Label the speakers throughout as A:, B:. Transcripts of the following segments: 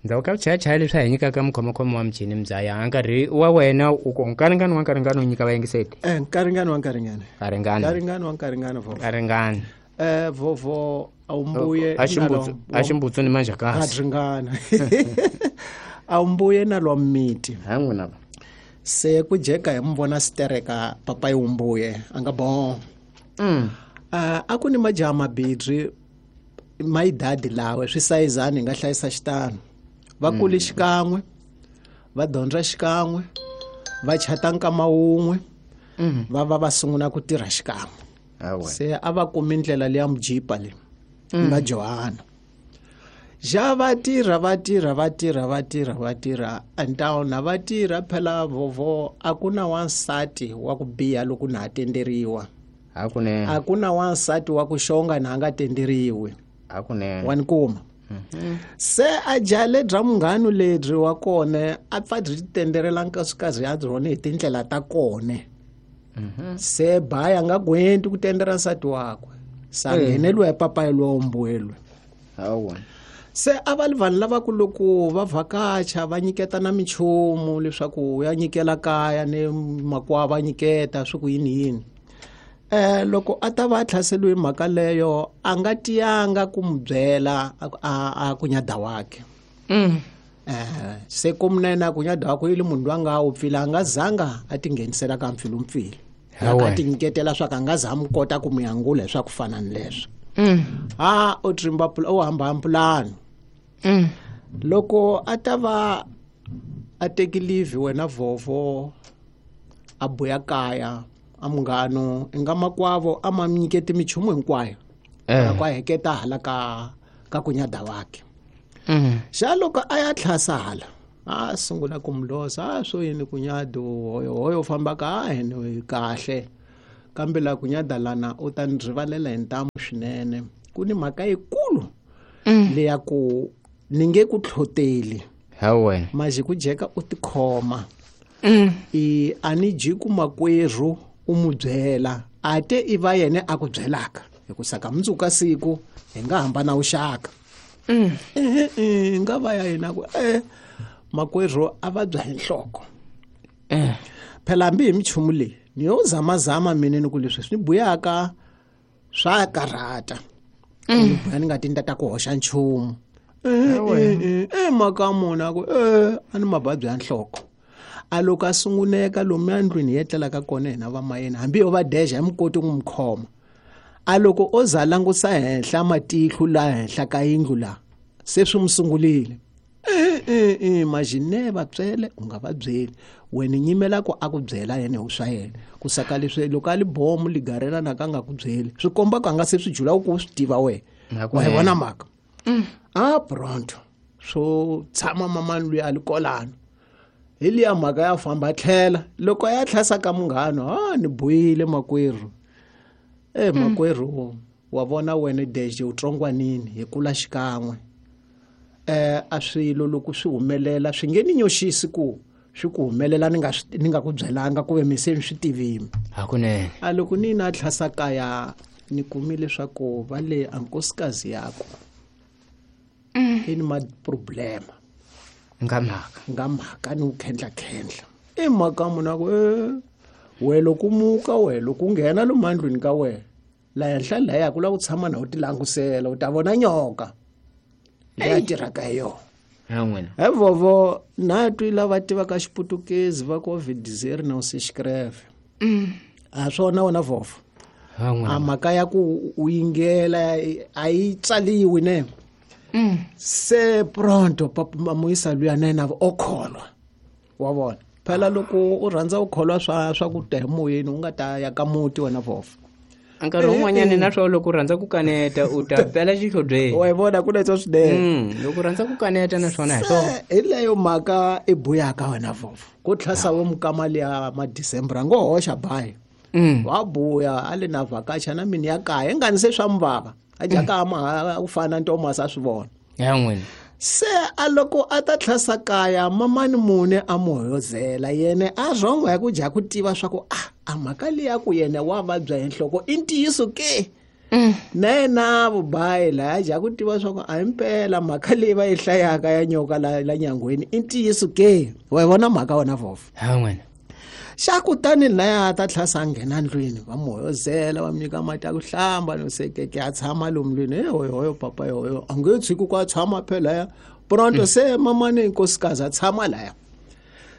A: Ndzhaku ka vuchayachaya leswi a hi nyikaka mukhomakhoma wa michini mbyaya nkarhi wa wena u ku nkaringani wa nkaringani u nyika vayingiseti.
B: Nkaringani wa nkaringani.
A: Nkaringani.
B: Nkaringani wa nkaringani vovo.
A: Nkaringani.
B: Vovo awumbuye
A: a ximbutsu ni manjhakasi.
B: A ringana. Awumbuye na lwa miti.
A: Ha n'wina va.
B: Se ku jeka hi muvona stereka papayi wumbuye a nga bon. A ku ni majaha mabidri mayidadi lawe swi sayizani hi nga hlayisa xitano. Va kule xikan'we, va dyondza xikan'we, va chata nkama wun'we, va va va sungula ku tirha xikan'we. Se a va kumi ndlela leya mujipa leyi nga Johana. Ja va tirha va tirha va tirha va tirha va tirha antawuna va tirha phela vovo a ku na wansati wa ku biha loko na ha tenderiwa.
A: Hakunene.
B: A ku na wansati wa ku xonga na nga tenderiwi.
A: Hakunene.
B: Wa ni kuma. Se a jale bya munghano lebyi wa kona a pfa byi tenderela nkosikazi ya byona hi tindlela ta kona. Se baya nga gwenti ku tendera nsati wakwe. Sa ngheneliwa hi papayi lowa mbuelwe.
A: Hawa.
B: Se a va li vanhu lava ku loko va vhakacha va nyiketa na minchumu leswaku ya nyikela kaya ni makwavo va nyiketa swi ku yini yini. Loko a ta va a tlhaseliwe mhaka leyo a nga tiyanga ku n'wi byela a kunyada wakhe. Se ku munene a kunyada wakhe i le munhu loyi a nga wu pfila a nga zanga a tinghenisela ka mpfilumpfilu. A ti nyiketela swa ku a nga za a n'wi kota ku n'wi angula hi swa ku fana ni leswo. Ha u trimba u hamba pulani. Loko a ta va a teki leave wena vovo a buya kaya a munghano i nga makwavo a ma nyiketi minchumu hinkwayo. Loko a heketa hala ka kunyada wakhe. Xa loko a ya tlhasa hala a sungula ku mulosa a swo yini kunyado hoyo hoyo famba ka hene kahle kambe la kunyada lana u ta ni rivalela hi ntamu swinene ku ni mhaka yikulu leya ku ni nge ku tlhoteli.
A: Hawe.
B: Maji ku jeka u tikhoma. I a ni ji ku makwerhu u mu byela a te i va yena a ku byelaka hi ku saka mundzuku ka siku hi nga hambana vuxaka. Nga va ya yena ku makwerhu a va bya hi nhloko. Phela hambi hi minchumu leyi ni yo zamazama mina ni ku leswi swi ni buyaka swa karhata. Ni buya ni nga ti ni ta ku hoxa nchumu. Mhaka mona ku a ni mavabyi ya nhloko. A loko a sunguneka lomu endlwini hi etlelaka kona hina va mayena hambi yo va deja hi mi koti ku n'wi khoma. A loko o za langusa henhla matihlo la henhla ka yindlu la se swi n'wi sungulile. Majine va tswele u nga va byeli wena nyimela ku a ku byela yena hi swa yena ku saka leswi loko a li bomu ligarela na ka nga ku byeli swi komba ku a nga se swi jula ku swi tiva wena. Wa yi vona mhaka. A pronto swo tshama mamani loyi a li kolano hi liya mhaka ya famba tlhela loko ya tlhasa ka munghano a ni buyile makwerhu. Makwerhu wa vona wena deje u tsongwanini hi kula xikan'we. A swilo loko swi humelela swi nge ni nyoxisi ku swi ku humelela ni nga ni nga ku byelanga ku ve mi se ni swi tivini.
A: Hakunene.
B: A loko ni na tlhasa kaya ni kumile leswaku va le a nkosikazi yakwe i ni ma problema.
A: Nga mhaka.
B: Nga mhaka ni ku khendla khendla. I mhaka munhu a ku we loko muka we loko u nghena lomu endlwini ka wena la henhla laya ku lava ku tshama na u ti langusela u ta vona nyoka leyi a tirhaka hi yona.
A: Ha n'wina.
B: He vovo na twi lava tivaka xiputukezi va ku vidizeri na u se xikreve. A swona wena vovo.
A: Ha n'wina.
B: A mhaka ya ku u yingela a yi tsaliwi ne. Se pronto papa muyisa luya na yena o kholwa. Wa vona. Phela loko u rhandza u kholwa swa ku ta hi moyeni u nga ta ya ka muti wena vovo.
A: Nkarhi wun'wanyana na swona loko u rhandza ku kaneta u ta pela xihlobyeni.
B: Wa yi vona ku leswo swinene.
A: Loko u rhandza ku kaneta na swona hi swona.
B: Se hi leyo mhaka i buyaka wena vovo. Ku tlhasa wo mukama liya ma December a ngo hoxa bayi. Wa buya a le na vhakacha na mini ya kaya ingani se swa muvava. A jaka ma ku fana Thomas a swi vona.
A: Ya n'wina.
B: Se a loko a ta tlhasa kaya mamani mune a mu hoyozela yena a rhongo ya ku dya ku tiva swa ku a mhaka liya ku yena wa vabya hi nhloko i ntiyiso ke. Na yena vubayi laya ja ku tiva swa ku a himpela mhaka leyi va yi hlayaka ya nyoka la nyangweni i ntiyiso ke. Wa yi vona mhaka wena vhofo?
A: Ha n'wina.
B: Xa kutani laya a ta tlhasa a nghena ndlwini, va mu hoyozela, va mu nyika mati ya ku hlamba, no sekeke a tshama lomu ndlwini. He hoyohoyo papa yohoyo, a nge tshiki ku a tshama phela ya. Pronto se mamani nkosikazi a tshama laya.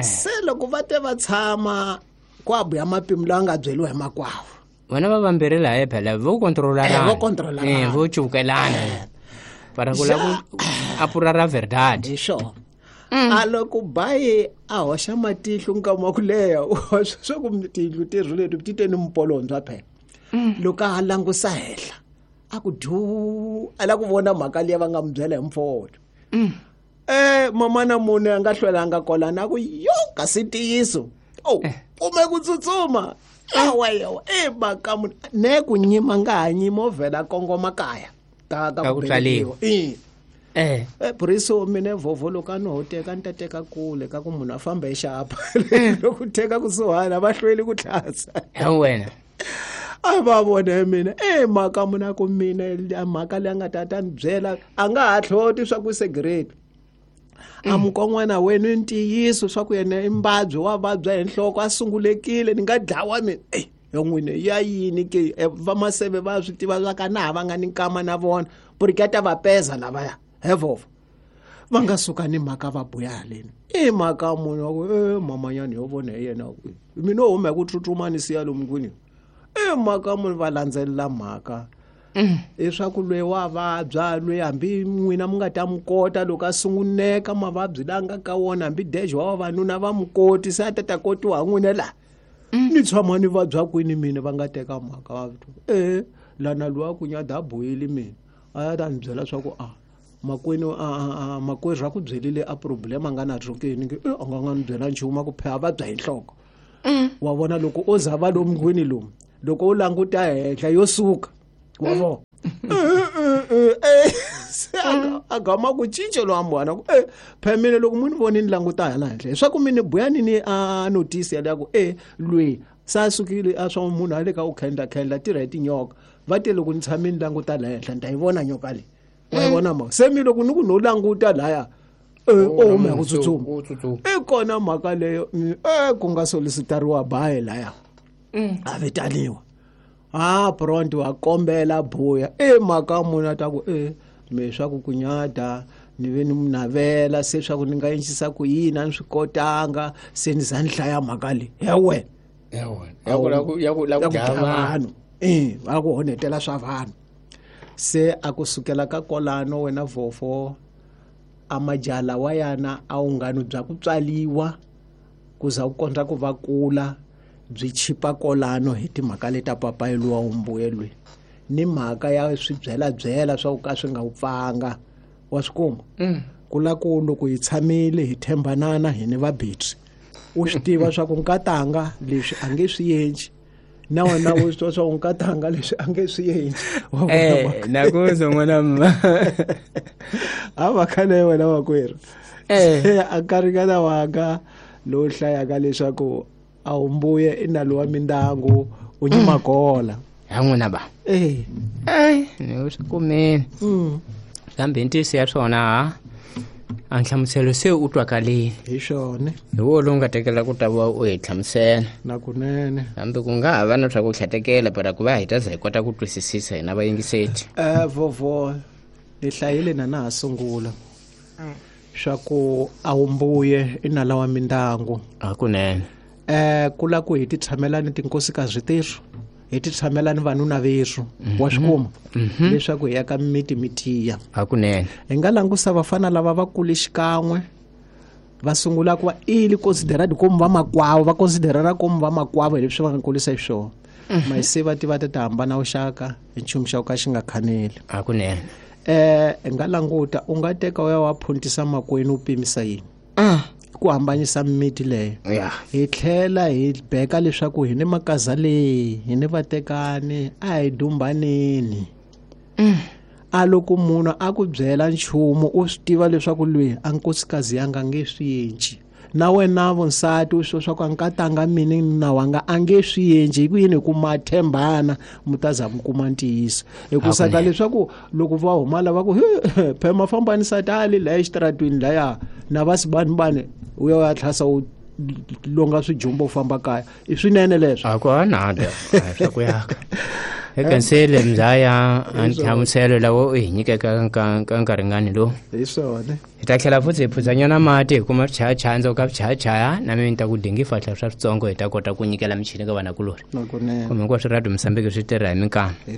B: Se loko va te va tshama ku a buya mapimo lawa nga byeriwa hi makwavo.
A: Vona va vambirhi laya phela vo kontrolarana.
B: Vo kontrolarana.
A: Vo cuvukelana. Para ku lava ku apura ra verdade.
B: Hi swona. A loko bayi a hoxa matihlo nkama wa ku leha, swa ku tiyindlu terhu leti ti te ni mpolondzwa phela. Loko a langusa henhla, a ku dyu, a la ku vona mhaka liya va nga mu byela hi mfolo. Mamana munhu a nga hlwelanga kolana a ku yo kasi ntiyiso. Oh, kume ku tsutsuma. Yawa yawa, mhaka munhu ne ku nyima nga ha nyima o vhela kongoma kaya. Ka
A: Ka
B: ku
A: ku tswaliwa.
B: velekiwa. Buriso mina vhovho loko a no teka ni ta teka kule ka ku munhu a famba hi xapa. Loko teka kusuhana va hlweli ku tlhasa.
A: Ha wena.
B: A va vone mina. Mhaka munhu a ku mina mhaka leyi a nga ta ta ni byela a nga ha hloti swa ku cigarette. A mukon'wana wena i ntiyiso swa ku yena i mbabyi wa vabya hi nhloko a sungulekile ni nga dlawa mina. Yo n'wina ya yini ke? Va maseve va swi tiva swa ka na ha va nga ni nkama na vona. Buriketa va peza lavaya. He vhovho. Va nga suka ni mhaka va buya haleni. I mhaka munhu wa ku, mamanyana yo vona hi yena. Mina o huma hi ku tsutsuma ni siya lomu kwini. Mhaka munhu va landzelela mhaka. Leswaku loyi wa vabya, loyi hambi n'wina mi nga ta mi kota loko a sunguneka mavabyi la nga ka wona, hambi dejo wa vavanuna va mi koti, se a ta ta kotiwa hi n'wina laha. Ni tshama ni vabya kwini mina va nga teka mhaka va vito. Lana loyi a ku nyada a bohile mina. A ya ta ni byela swa ku, a, makwenu, a, a, a, makwerhu a ku byelile a problem a nga na rhokeni, nge, a nga nga ni byela nchumu, a ku phela vabya hi nhloko. Wa vona loko o za va lomu kwini lomu, loko u languta henhla yo suka. Wa vona? Se a gama ku cinca lowa mbwana ku, phela mina loko mu ni voni ni languta hala henhla, leswaku mi ni buya ni ni a notice ya leya ku, loyi se a sukile a swa munhu a le ka u khendla khendla tirha hi tinyoka. Va te loko ni tshame ni languta laha henhla ni ta yi vona nyoka leyi. Wa yi vona mhaka? Se mi loko ni ku no languta laya, o huma hi ku tsutsuma.
A: U tsutsuma.
B: I kona mhaka leyo, ku nga solicitariwa bayi laya. A vitaniwa. Pronto wa kombela buya. Mhaka munhu a ta ku, me swa ku kunyada ni ve ni mu navela se swa ku ni nga endlisa ku yini a ni swi kotanga se ni za ni hlaya mhaka leyi. Ya wena.
A: Ya wena. Ya ku la ku, ya ku la ku
B: Ya ku
A: dlaya
B: dlaya
A: vanhu.
B: vanhu. Va ku honetela swa vanhu. Se a ku sukela ka kolano wena vhofo a majala wa yana a wu ngani bya ku tswaliwa ku za ku kondza ku va kula byi chipa kolano hi timhaka leta papayi luwa wu mbuyelweni ni mhaka ya swi byela byela swa ku ka swi nga wu pfanga wa swi kuma. Ku la ku loko hi tshamile hi thembanana hi ni vabetri u swi tiva swa ku nkatanga leswi a nge swi endli na wena u swi tiva swa ku nkatanga leswi a nge swi endli. Wa vona mhaka.
A: Na ku zwa n'wana mma.
B: A va khale wena makwerhu. Se a nkarhinyana wanga lowu hlayaka leswaku a wu mbuye i nalo wa mindyangu u nyima kola.
A: Ha n'wina ba. Ni swi kumile. Kambe hi ntiyiso ya swona, ha? A nhlamuselo se u twakalile.
B: Hi swona.
A: Hi wo lowu nga tekela ku ta va u hi hlamusela.
B: Na kunene.
A: Kambe ku nga ha va na swa ku tlhatekela, para ku va hi ta za hi kota ku twisisisa hina vayingiseti.
B: Vovo, ni hlayile na na ha sungula. Swa ku a wu mbuye i nala wa mindyangu.
A: Hakunene.
B: Ku la ku hi ti tshamela ni tinkosikazi terhu, hi ti tshamela ni vanuna verhu, wa swi kuma? Leswaku hi ya ka miti mi tiya.
A: Hakunene.
B: Hi nga langusa vafana lava va kule xikan'we, va sungula ku va ili considerad komu va makwavo, va considerana komu va makwavo hi leswi va nga kulisa xiswona. Mara se va tiva ta hambana vuxaka hi nchumu xa ku ka xi nga khaneli.
A: Hakunene.
B: Hi nga languta, u nga teka u ya wa phuntisa makwenu u pimisa yini? Ku hambanyisa miti leyo. Hi tlhela hi beka leswaku hi ni makaza leyi, hi ni vatekani, a hi dumbaneni. A loko munhu a ku byela nchumu u swi tiva leswaku loyi a nkosikazi ya nga nge swi endli. Na wena vonsati u swo swa ku a nkatanga mini na wanga a nge swi endli hi ku yini hi ku ma tshembana mi ta za mi kuma ntiyiso hikusa ka leswaku loko va huma lava ku phema fambani sati a le laya exitaratweni laya na va sibanibani u ya u ya tlhasa u longa swijumbo u famba kaya i swinene leswo
A: a ku anada swa ku yaka ekansele mzaya a nhlamuselo lawo u hi nyikeka ka nkarhingani lowu
B: hi swona
A: hi ta tlhela futhi hi phudzanyana mati hi kuma swichayachaya ndzhaku ka swichayachaya na mina ni ta ku dingi fahla swa switsongo hi ta kota ku nyikela michini ka vanakulorhi
B: nakunene
A: kumbe hinkwaswo radio mosambiki swi tirha hi minkama.